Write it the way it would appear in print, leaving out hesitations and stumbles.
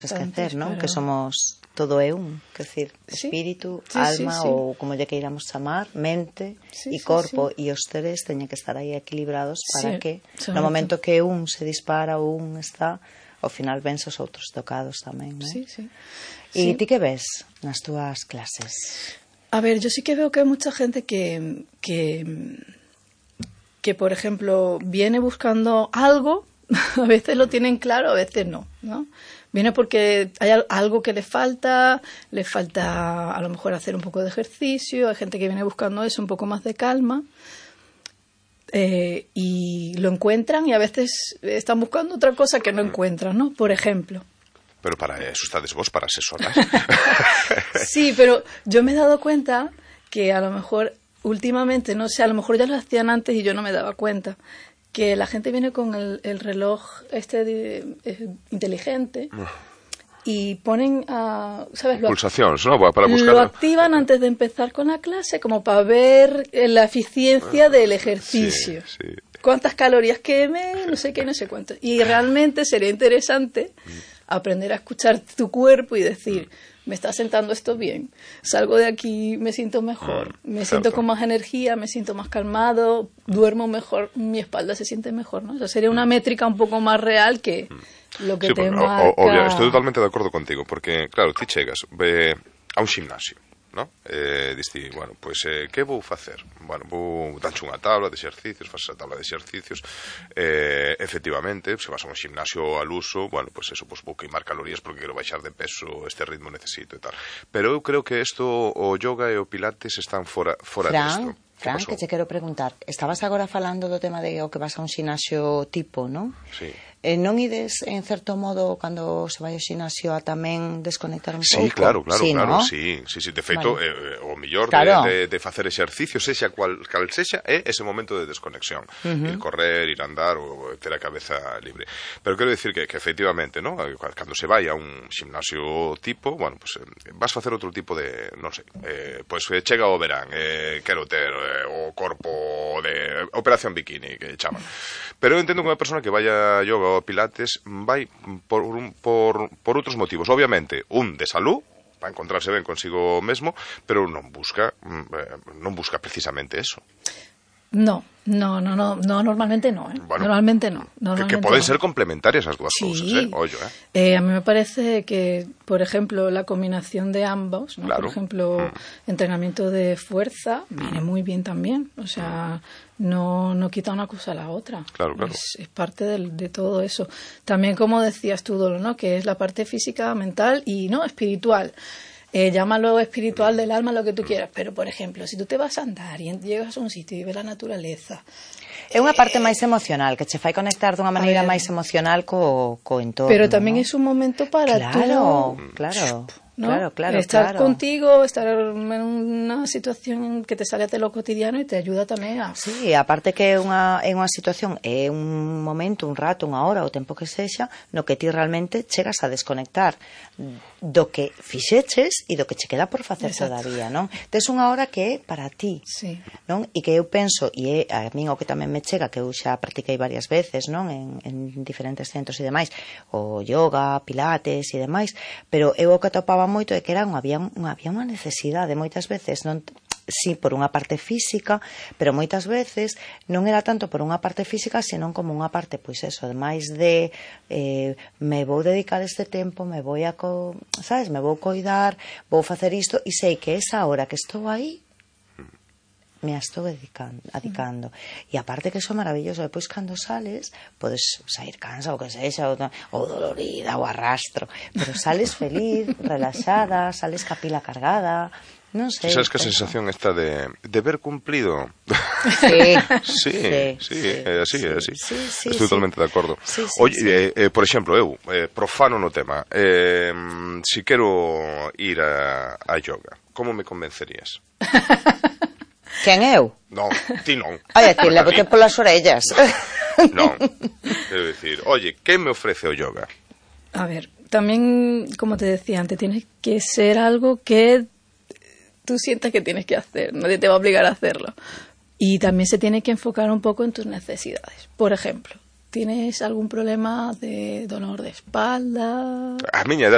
esquecer, non? Que somos todo é un, que decir, espírito, alma ou como lle queiramos chamar, mente e corpo, e os tres teñen que estar aí equilibrados para que no momento que un se dispara ou un está, ao final vense os outros tocados tamén, non? E ti que ves nas túas clases? A ver, yo sí que veo que hay mucha gente que por ejemplo, viene buscando algo, a veces lo tienen claro, a veces no, ¿no? Viene porque hay algo que le falta a lo mejor hacer un poco de ejercicio, hay gente que viene buscando eso, un poco más de calma, y lo encuentran y a veces están buscando otra cosa que no encuentran, ¿no? Por ejemplo. Pero para eso estás vos, para asesorar. Sí, pero yo me he dado cuenta que a lo mejor últimamente, no sé, a lo mejor ya lo hacían antes y yo no me daba cuenta, que la gente viene con el reloj inteligente y ponen ¿sabes? Pulsaciones, ¿no? Para buscar... Lo activan antes de empezar con la clase como para ver la eficiencia del ejercicio. Sí. Cuántas calorías queme, no sé qué, no sé cuánto. Y realmente sería interesante aprender a escuchar tu cuerpo y decir, me está sentando esto bien, salgo de aquí, me siento mejor, me siento con más energía, me siento más calmado, duermo mejor, mi espalda se siente mejor, ¿no? O sea, sería una métrica un poco más real que lo que te marca... Obvio, estoy totalmente de acuerdo contigo, porque, claro, ti chegas a un gimnasio, ¿no? Diste, bueno, pois, que vou facer? Bueno, vou danche unha tabla de exercicios, faces a tabla de exercicios, efectivamente, se vas a un gimnasio al uso, bueno, pois eso, pois vou queimar calorías porque quero baixar de peso, este ritmo necesito e tal. Pero eu creo que isto, o yoga e o pilates están fora disto. Fran, que te quero preguntar, estabas agora falando do tema de o que vas a un xinasio tipo, non? Sí. Non ides, en certo modo, cando se vai ao xinasio a tamén desconectar un pouco? Sí, claro, sí, ¿no? sí. De feito, o mellor de facer exercicio, sexa cal sexa, é ese momento de desconexión. Ir correr, ir andar, ou ter a cabeza libre. Pero quero dicir que efectivamente, ¿no? Cando se vai a un ximnasio tipo, bueno, pues vas facer outro tipo de, non sei, pues chega o verán, quero ter o corpo de operación bikini, que chaman. Pero eu entendo que unha persona que vai a yoga ou pilates vai por outros motivos. Obviamente, un de salud, para encontrarse ben consigo mesmo, pero non busca precisamente eso. No, normalmente no, Bueno, normalmente no. Que poden ser complementarias as dúas cousas, Ollo, A mí me parece que, por ejemplo, la combinación de ambos, ¿no? Claro. Por ejemplo, entrenamiento de fuerza viene muy bien también, o sea, no quita una cosa a la otra. Claro. Es parte de todo eso. También, como decías tú, Dolo, ¿no? Que es la parte física, mental y no espiritual. Llámalo espiritual del alma, lo que tú quieras, pero por ejemplo, si tú te vas a andar y llegas a un sitio y ves la naturaleza, é unha parte máis emocional, que che fai conectar dunha maneira máis emocional co entorno. Pero tamén es un momento para Claro. ¿no? Claro. Estar contigo, estar en unha situación que te sale de lo cotidiano e te ayuda tamén a... Sí, aparte que é unha situación, é un momento, un rato, unha hora, o tempo que sexa, no que ti realmente chegas a desconectar do que fixeches e do que che queda por facer todavía, non? Tes unha hora que é para ti, non? E que eu penso, e a min o que tamén me chega, que eu xa practiquei varias veces, non? En diferentes centros e demais, o yoga, pilates e demais, pero eu o que atopaba moito é que había unha necesidade moitas veces, non, sí, por unha parte física, pero moitas veces non era tanto por unha parte física, senón como unha parte, pois eso, ademais de me vou dedicar este tempo, me vou sabes, me vou coidar, vou facer isto, e sei que esa hora que estou aí me estou adicando. E aparte que iso é maravilloso, depois cando sales podes sair cansa ou que sexa, ou dolorida ou arrastro, pero sales feliz, relaxada, sales ca pila cargada, non sei. Sabes que a sensación está de ver cumplido? Sí, é así. Estou totalmente de acordo. Oye, por exemplo, eu, profano no tema, si quero ir a yoga, como me convencerías? Quen eu? Non, ti non. Oye, ti levote polas orellas. Non, quero dicir, oye, que me ofrece o yoga? A ver, también, como te decía antes, tienes que ser algo que tú sientas que tienes que hacer, nadie te va a obligar a hacerlo. Y también se tiene que enfocar un poco en tus necesidades. Por ejemplo, Tienes algún problema de dolor de espalda? A miña